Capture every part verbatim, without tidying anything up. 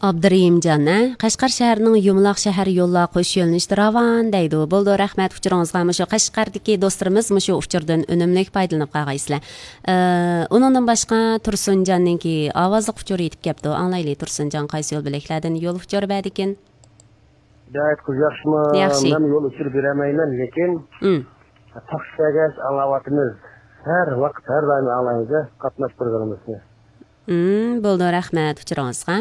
ئابدۇرېھىمجان، ھە؟ قەشقەر شەھىرىنىڭ يۇمىلاق شەھەر يوللار قوش يۆنىلىشىدە راۋان دەيدۇ. بولدى، رەھمەت ئۇچۇرىڭىزغا. مۇشۇ قەشقەردىكى دوستلىرىمىز مۇشۇ ئۇچۇردىن ئۈنۈملۈك پايدىلىنىپ قالغايسىلەر. ئە، ئۇنىڭدىن باشقا تۇرسۇنجاننىڭكى ئاۋازلىق ئۇچۇرى يېتىپ كەپتۇ. ئاڭلايلى، تۇرسۇنجان قايسى يول بۆلەكلەردىن يول ئۇچۇرى بەردىكىن؟ ھىدايەت قىز ياخشىمۇ؟ ياخشى. مەن يول ئۇچۇرى بېرەلمەيمەن، لېكىن ئۇم. تاكسى كەلگەچ ئاڭلاۋاتىمىز. ھەر ۋاقىت، ھەر دائىم ئاڭلايمىز، قاتناش پروگراممىسىنى. ئۇم، بولدى، رەھمەت ئۇچۇرىڭىزغا.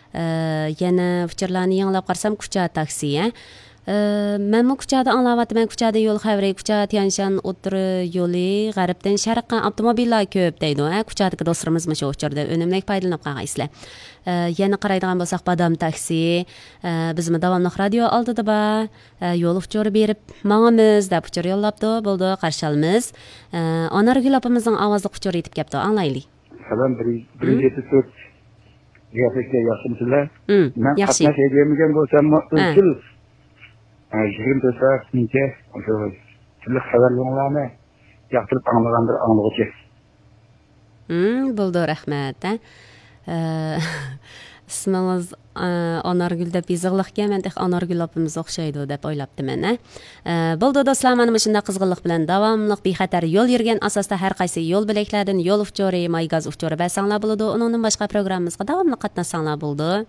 ئە، يەنە ئۇچۇرلارنى يېڭىلاپ قارىسام، كۇچا تاكسى، ھە؟ ئە، مەنمۇ كۇچادا ئاڭلاۋاتىمەن، كۇچادا يول خەۋىرى، كۇچا تيەنشان ئوتتۇرا يولى غەربتىن شەرققە ئاپتوموبىللار كۆپ دەيدۇ، ھە؟ كۇچادىكى دوستلىرىمىز مۇشۇ ئۇچۇردا ئۈنۈملۈك پايدىلىنىپ قالغايسىلەر. ئە، يەنە قارايدىغان بولساق، بادام تاكسى، ئە، بىزمۇ داۋاملىق رادىيو ئالدىدا بار، ئە، يول ئۇچۇرى بېرىپ ماڭىمىز دەپ ئۇچۇر يوللاپتۇ. بولدى، قارشى ئالىمىز. ئە، ئانارگۈل ئاپىمىزنىڭ ئاۋازلىق ئۇچۇرى يېتىپ كەپتۇ، ئاڭلايلى. سالام، بىر، بىرىنچى يەتتە تۆت. قىياپەتكە ياخشىمۇسىلەر؟ ئۇم، مەن ياخشى. قاتناش ھەيدىيەلمىگەن بولساممۇ، ھە. ئىزچىل، ئە، يىگىرمە تۆت سائەتنىڭكى ئاشۇ تۈرلۈك خەۋەرلىرىڭلارنى ياقتۇرۇپ ئاڭلىغان بىر ئاڭلىغۇچى. ئۇم، بولدى، رەھمەت، ھە. ئە، ئىسمىڭىز، ئە، ئانارگۈل دەپ يېزىقلىقكەن، مەن تېخى ئانارگۈل ئاپىمىز ئوخشايدۇ دەپ ئويلاپتىمەن، ھە. ئە، بولدى دوستلار، مانا مۇشۇنداق قىزغىنلىق بىلەن داۋاملىق بىخەتەر يول يۈرگەن ئاساستا ھەر قايسى يول بۆلەكلەردىن يول ئۇچۇرى، ماي گاز ئۇچۇرى بەرسەڭلار بولىدۇ. ئۇنىڭدىن باشقا پروگراممىمىزغا داۋاملىق قاتناشساڭلار بولىدۇ.